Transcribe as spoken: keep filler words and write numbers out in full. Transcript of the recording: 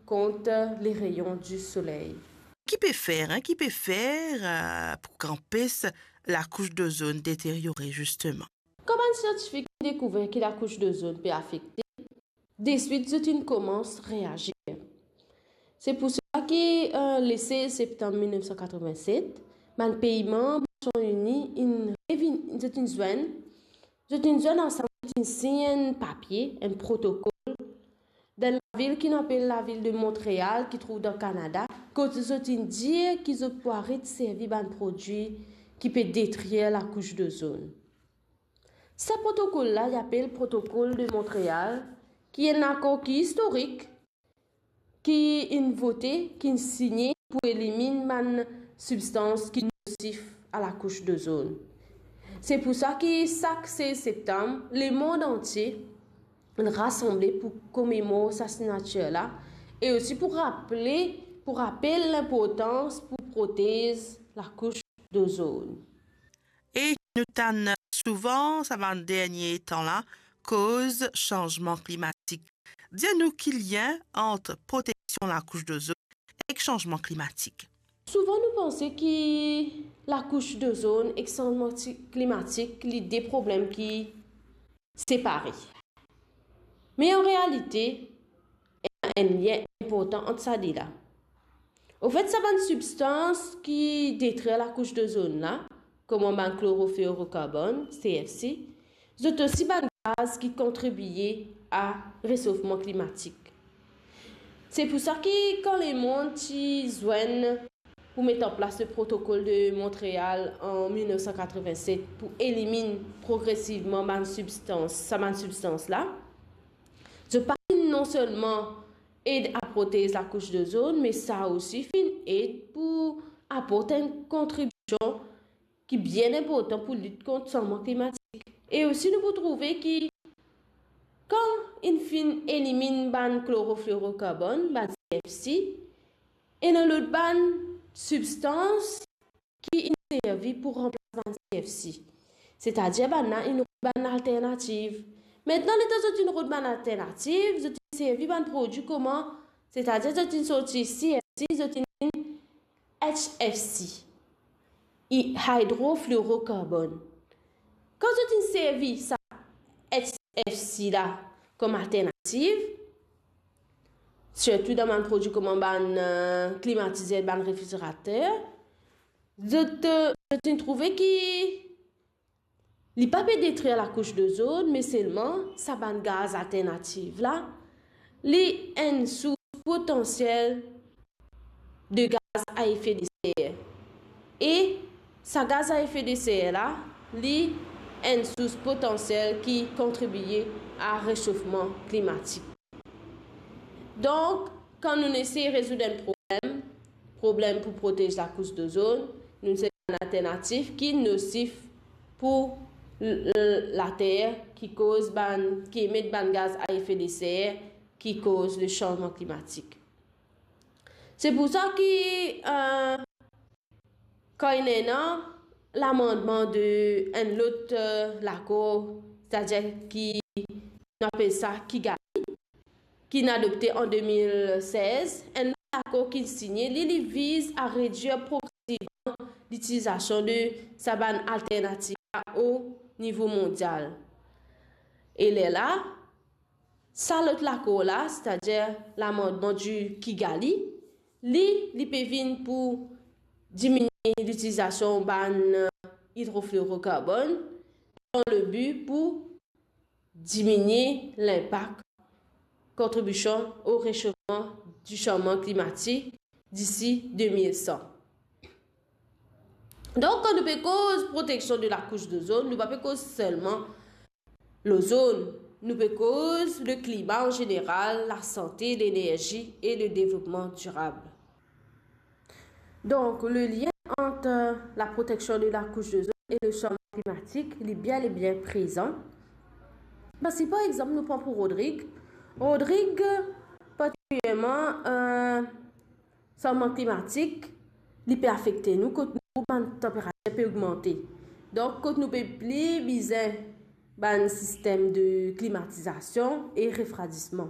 kont le rayon di soley. Ki pe fer, hein, ki pe fer, euh, pou ki anpes lakous dozonn deteryore, zisteman? Kan bann siantifik inn dekouver ki lakous dozonn pe afekte, deswit zot inn koumans reazir. Se pou sa ki, euh, le sez septam mil nef san katreven-set, bann pei manb Nasion Ini inn revinn-, zot inn zwenn, zot inn zwenn ansam, zot inn sign enn papie, enn protokol, dan lavil ki nou apel lavil de Montreal, ki trouv dan Kanada, kot zot inn dir ki zot pou aret servi bann prodwi ki pe detrir lakous dozonn. Sa protokol la, li apel Protokol de Montreal, ki enn lakor ki istorik, ki inn vote, ki inn signe pou eliminn bann sibstans ki nosif a lakous dozonn. Se pou sa ki sak sez septam, lemond antie rasanble pou komemor sa signatir la, e osi pou rapele, pou rapel linportans pou protez lakous dozonn. E nou tann souvan, sa bann dernie tan la, koz sanzman klimatik. Dir nou ki lien ant proteksion lakous dozonn ek sanzman klimatik. Souvan nou panse ki lakous dozonn ek sanzman ti-, klimatik, li de problem ki separe. Me an realite, ena enn lien inportan ant sa de la. Anfet, sa bann sibstans ki detrir lakous dozonn la, kouma bann klorofluorokarbonn, C F C, zot osi bann gaz ki kontribie a resofman klimatik. Se pou sa ki kan lemond ti zwenn pou met an plas le Protokol de Montreal an mil nef san katreven-set pou eliminn progresivman bann sibstans, sa bann sibstans la, zot pa finn non selman ed a protez lakous dozonn, me sa osi finn ed pou aport enn kontribision ki bien inportan pou lit kont sanzman klimatik. E osi nou pou trouve ki kan inn finn eliminn bann klorofluorokarbonn, bann C F C, ena lot bann sibstans ki inn servi pou ranplas bann C F C. Setadir bann la inn rod bann alternativ. Aster, letan zot inn rod bann alternativ, zot inn servi bann prodwi kouma, setadir zot inn sorti C F C, zot inn vinn H F C, i-, hydrofluorocarbon. Kan zot inn servi sa H F C la kom alternativ, sirtou dan bann prodwi kouma bann, eh, klimatizer, bann refrizerater, zot, eh, zot inn trouve ki li pa pe detrir lakous dozonn, me selman sa bann gaz alternativ la, li enn sours potansiel de gaz a efe de ser. E sa gaz a efe de ser la, li enn sours potansiel ki kontribie a resofman klimatik. Donk, kan nou inn esey rezoud enn problem, problem pou protez lakous dozonn, nou inn servi bann alternativ ki nosif pou l-, l-, later, ki koz bann, ki emet bann gaz a efe de ser, ki koz le sanzman klimatik. Se pou sa ki, eh, kan inn ena lamannman de enn lot, eh, lakor, setadir ki nou apel sa Kigali, ki inn adopte an de mil sez, enn lakor ki signe, li, li viz a redwir progresivman litilizasion de sa bann alternativ la o nivo mondial. E lerla, sa lot lakor la, setadir lamannman di Kigali, li, li pe vinn pou diminie litilizasion bann, eh, idrofluorokarbonn, dan le bi pou diminie linpak kontribision o resofman di sanzman klimatik disi de mil san. Donk, kan nou pe koz proteksion de lakous dozonn, nou pa pe koz selman lozonn, nou pe koz le klima an zeneral, lasante, lenerzi e le devlopman dirab. Donk, le lien ant la proteksion de lakous dozonn e le sanzman klimatik, li bel e bien prezan. Parski, par exanp, nou pran pou Rodrig. Rodrig, partikilierman, eh, sanzman klimatik, li pe afekte nou kot nou trouv bann tanperatir pe ogmante. Donk, kot nou pe pli bizin bann sistem de klimatizasion e refradisman.